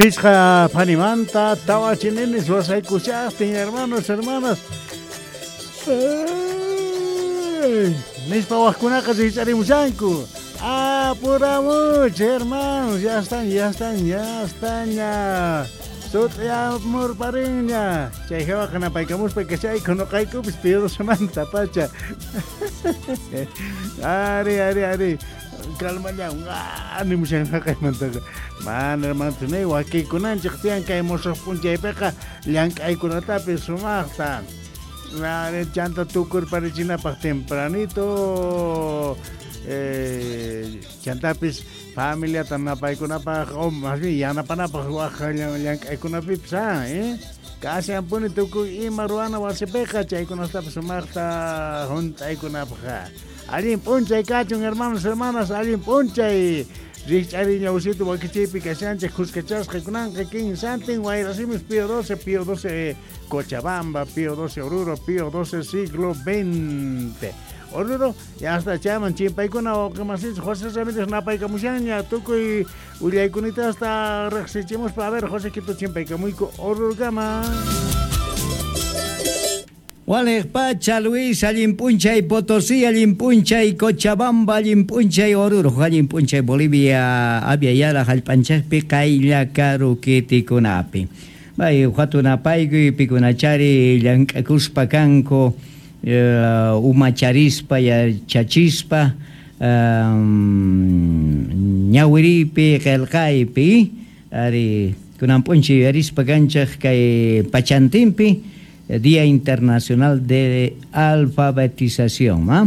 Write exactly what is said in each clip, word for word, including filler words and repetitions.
Pichqa phanimanta tawa chinenes wasaykushaqtin hermanos, hermanas. Nispa waqkunaqa rikch'arimushanku. Apuramuch, hermanos, ya están, ya están, ya están ya. Sut'yamurparinña. Chay hawaqa napaykamuspa kachayku nuqaykupis Pío doce pacha. Ari, ari, ari. Calmallawan, nimushan haqaymantaqa. Mana hermanos, nay wakiykunanchik tiyan kay musuq p'unchaypiqa llank'aykunatapis sumaqta. Ari, chanta tukurparichinapaq tempranito. Eh, chantapis familiata napaykunapaq o más bien yanapanapaq waq llank'aykunapipis ah, eh? Kashan puni tukuy ima ruwana wasipiqa chaykunastapis sumaqta hunt'aykunapaq. Allin p'unchay kachun hermanos, hermanas, allin p'unchay. Rikch'ariña usitu wakichiypi kashanchik kuskachasqa kunanqa kinsantin Wayrasimis Pío doce, Pío doce Cochabamba, Pío doce Oruro, Pío doce siglo veinte. Oruro, ya hasta chaman chimpaykuna wawqimasinchik José Ramírez napaykamushanña tukuy willaykunita hasta riqsichimuspa. A ver, José Quito chimpaykamuyku Orurukama. Waliq pacha Luis, allin p'unchay Potosí, allin p'unchay Cochabamba, allin p'unchay Oruro, allin p'unchay Bolivia, Avia Yala hallp'anchikpi qaylla karu kitikunapi. Bay hatunapaykuy pikunachari llank'akuspa kanku uh, umacharispa yachachispa um, ñawiripi qillqaypi ari kunan p'unchay yuyarispa kanchik kay pachantinpi Día Internacional de Alfabetización, ¿ah?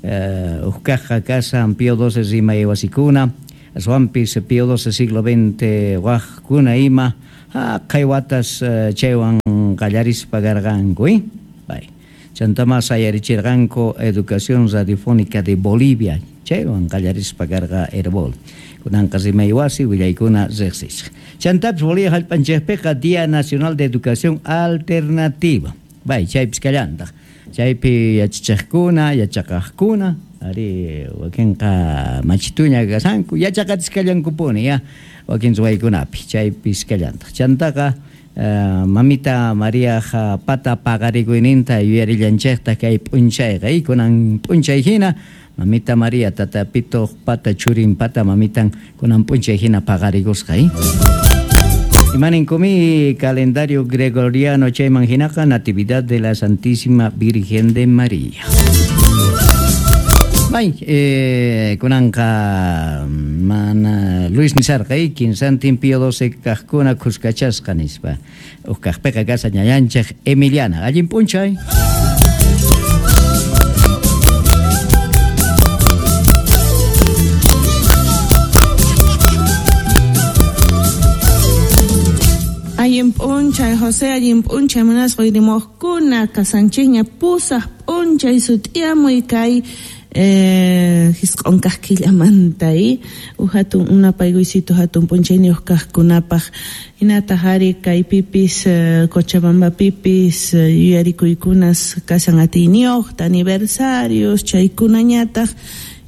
Eh, Uqkaqqa kasan Pío doce rimay wasikuna, aswanpis Pío doce siglo veinte waqkuna ima, haqay watas chaywan qallarispa karqanku, ¿eh? Bay. Chantama sayarichirqanku Educación Radiofónica de Bolivia, chaywan qallarispa karqa Herbol. Kunanqa rimay wasi willaykuna riqsisqa. Chantapis Bolivia hallp'anchikpiqa Día Nacional de Educación Alternativa. Bay, chaypis kallantaq. Chaypi yachachiqkuna, yachaqaqkuna, ari wakinqa machituña kasanku, yachaqatisqallankupuni ya wakin ruwaykunapi, chaypis kallantaq. Chantaqa uh, mamita Mariaqa pata paqarikuyninta yuyarillanchikta kay p'unchayqa, kunan p'unchay hina Mamita María tata pito pata churin pata mamitan kunan p'unchay hina paqarikusqa, ¿eh? Imaninkum calendario gregoriano chayman hinaqa Natividad de la Santísima Virgen de María. Bay, eh, kunanqa mana Luis nisarqa, eh, kinsantin Pío doce kaqkuna kuskachasqa nispa. Uqkaqpiqa kasa ñañanchik Emiliana. Allin p'unchay. Allin p'unchay José, allin p'unchay munasqa uyrimuqkuna kasanchikña pusaq p'unchay sut'iyamuy kay eh, hisq'un kaq killamanta, eh? Uj hatun unapaykuysito hatun p'unchayniyuq kaqkunapaq hinataq ari kaypipis eh, Cochabambapipis eh, yuyarikuykunas kasan atiyniyuqta aniversarios chaykunañataq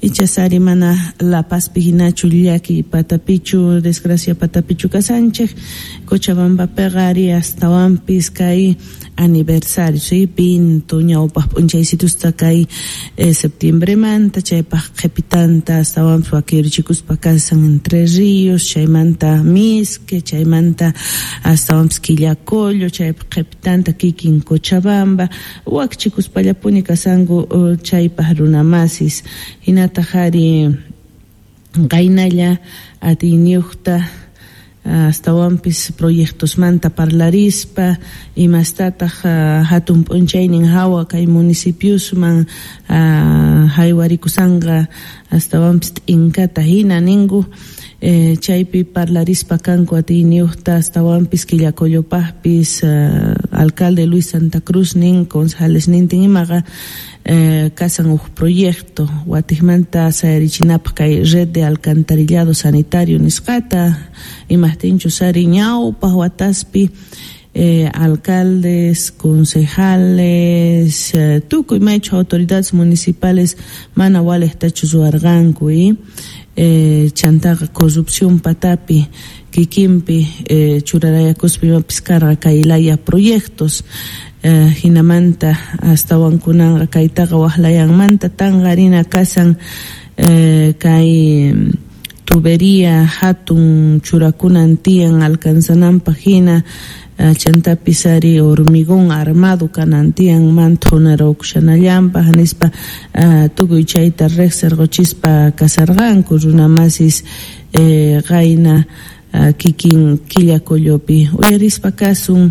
ichasari mana La Pazpi hinachu llaki patapichu desgracia patapichu kasanchik Cochabambapiqa ari astawanpis kay aniversario, sí, pinto ñawpaq p'unchaysitusta kay eh, septiembremanta chaypaq qhipitanta astawanpis wakirichikuspa kasan Entre Ríos chaymanta Misque chaymanta astawanpis Quillacollo chaypaq qhipitanta kikin Cochabamba wakchikuspallapuni kasanku uh, chaypaq runamasis hinataq ari qaynalla atiyniyuqta astawanpis proyectosmanta parlarispa imastataq uh, hatun p'unchaynin hawa kay municipiosman uh, haywarikushanqa astawanpis t'inkata hina ninku eh, chaypi parlarispa kanku atiyniyuqta astawanpis Quillacollopaqpis uh, alcalde Luis Santa Cruz nin concejales nintin imaqa eh, kasan uj proyecto watiqmanta sayarichinapaq kay red de alcantarillado sanitario nisqata imaqtinchus ari ñawpaq wataspi eh, alcaldes, concejales, eh, tukuy maychu autoridades municipales mana waliqtachu ruwarqanku, eh? eh, chantaqa corrupción patapi kikinpi eh, churarayakuspa imapis karqa kay laya proyectos eh, hinamanta astawan kunanqa kaytaqa waqlayanmanta tanqarina kasan eh, kay tubería hatun churakunan tiyan alcanzananpaq hina chantapis ari hormigón armado kanan tiyan man thunarukushanallanpaq nispa tukuy chayta riqsirquchispa kasarqanku runamasis eh, qayna kikin Quillacollopi uyarispa kasun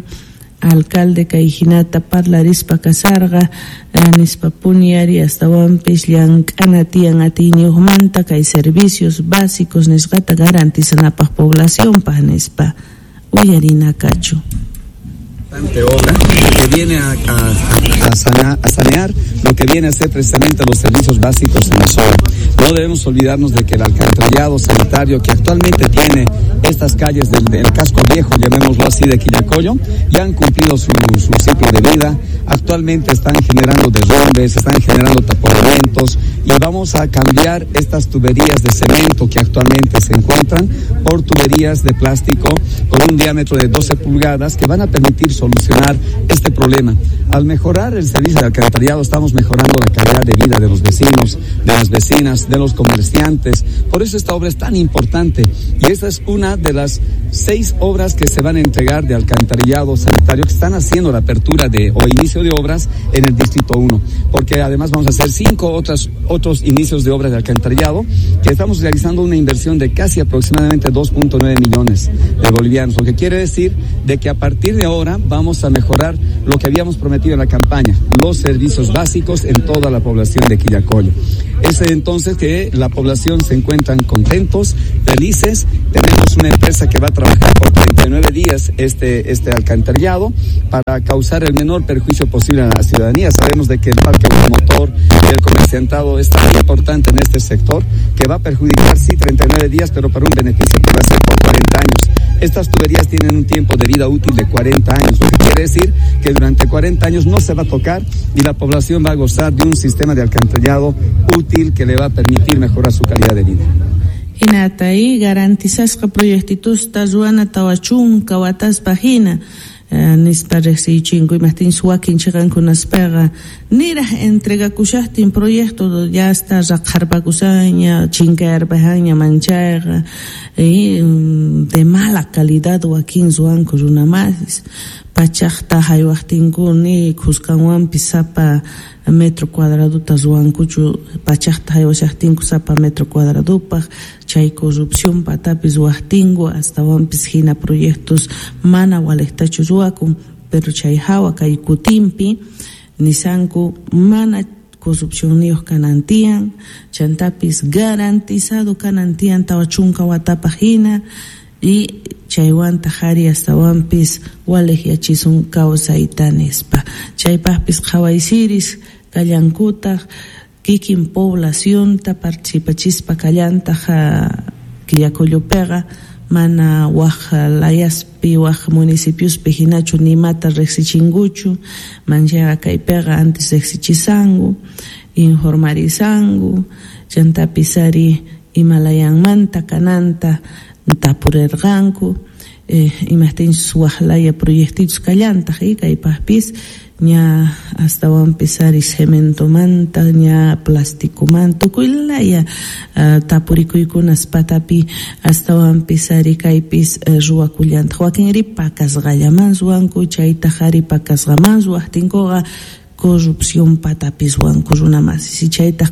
alcalde kay hinata parlarispa kasarqa nispa puni ari astawanpis llank'ana tiyan atiyniyuqmanta kay servicios básicos nisqata garantizanapaq poblacionpaq nispa uyarina kachu. Obra que viene a, a, a, sana, a sanear lo que viene a ser precisamente los servicios básicos en la zona. No debemos olvidarnos de que el alcantarillado sanitario que actualmente tiene estas calles del, del casco viejo, llamémoslo así, de Quillacollo, ya han cumplido su, su ciclo de vida. Actualmente están generando derrumbes, están generando taponamientos y vamos a cambiar estas tuberías de cemento que actualmente se encuentran por tuberías de plástico con un diámetro de doce pulgadas que van a permitir solucionar este problema. Al mejorar el servicio de alcantarillado estamos mejorando la calidad de vida de los vecinos, de las vecinas, de los comerciantes. Por eso esta obra es tan importante y esta es una de las seis obras que se van a entregar de alcantarillado sanitario que están haciendo la apertura de o inicio de obras en el Distrito uno, porque además vamos a hacer cinco otras, otros inicios de obras de alcantarillado que estamos realizando una inversión de casi aproximadamente dos punto nueve millones de bolivianos, lo que quiere decir de que a partir de ahora vamos a mejorar lo que habíamos prometido en la campaña, los servicios básicos en toda la población de Quillacollo. Es entonces que la población se encuentran contentos, felices. Tenemos una empresa que va a trabajar por treinta y nueve días este, este alcantarillado para causar el menor perjuicio posible a la ciudadanía. Sabemos de que el parque automotor y el comerciantado es tan importante en este sector que va a perjudicar, sí, treinta y nueve días, pero para un beneficio que va a ser por cuarenta años. Estas tuberías tienen un tiempo de vida útil de cuarenta años, lo que quiere decir que durante cuarenta años no se va a tocar y la población va a gozar de un sistema de alcantarillado útil que le va a permitir mejorar su calidad de vida. Hinata y garantizasqa proyectitusta ruwana tawa chunka wataspa hina nispa riqsichinku imaqtinchus wakin chiqankunaspaqa niraq entregakushaqtin proyecto ya está raqharpakushaña chinkayarpajaña manchayqa de mala calidad wakin ruwanku runamasis pachaqta haywaqtinku ni khuskanwanpis sapa metro cuadraduta ruwankuchu pachaqta haywashaqtinku sapa metro cuadradupaq chay corrupción patapis ruwaqtinku astawanpis hina proyectos mana waliqtachu ruwakun pero chay hawa kay kutinpi nisanku mana corrupcionniyuq kanan tiyan chantapis garantizado kanan tiyan tawa chunka watapaq hina y chaywantaq ari astawanpis waliqyachisun kawsayta nispa chaypaqpis qhawaysiris kallankutaq kikin poblacionta participachispa kallantaq Quillacollopiqa mana waq layaspi waq municipiospi hinachu nimata riqsichinkuchu manchaqa kaypiqa antes riqsichisanku informarizanku chantapis ari imalayanmanta kananta tapurirqanku eh, imaqtinchus waq laya proyectitos kallantaq y kaypaqpis ña astawanpis ari cementomanta ña plasticomanta tukuy laya uh, tapurikuykunas patapi astawanpis ari kaypis uh, ruwakullantaq wakinri pakasqallaman ruwanku chaytaq ari pakasqaman ruwaqtinkuqa corrupción patapis ruwanku runamasis chaytaq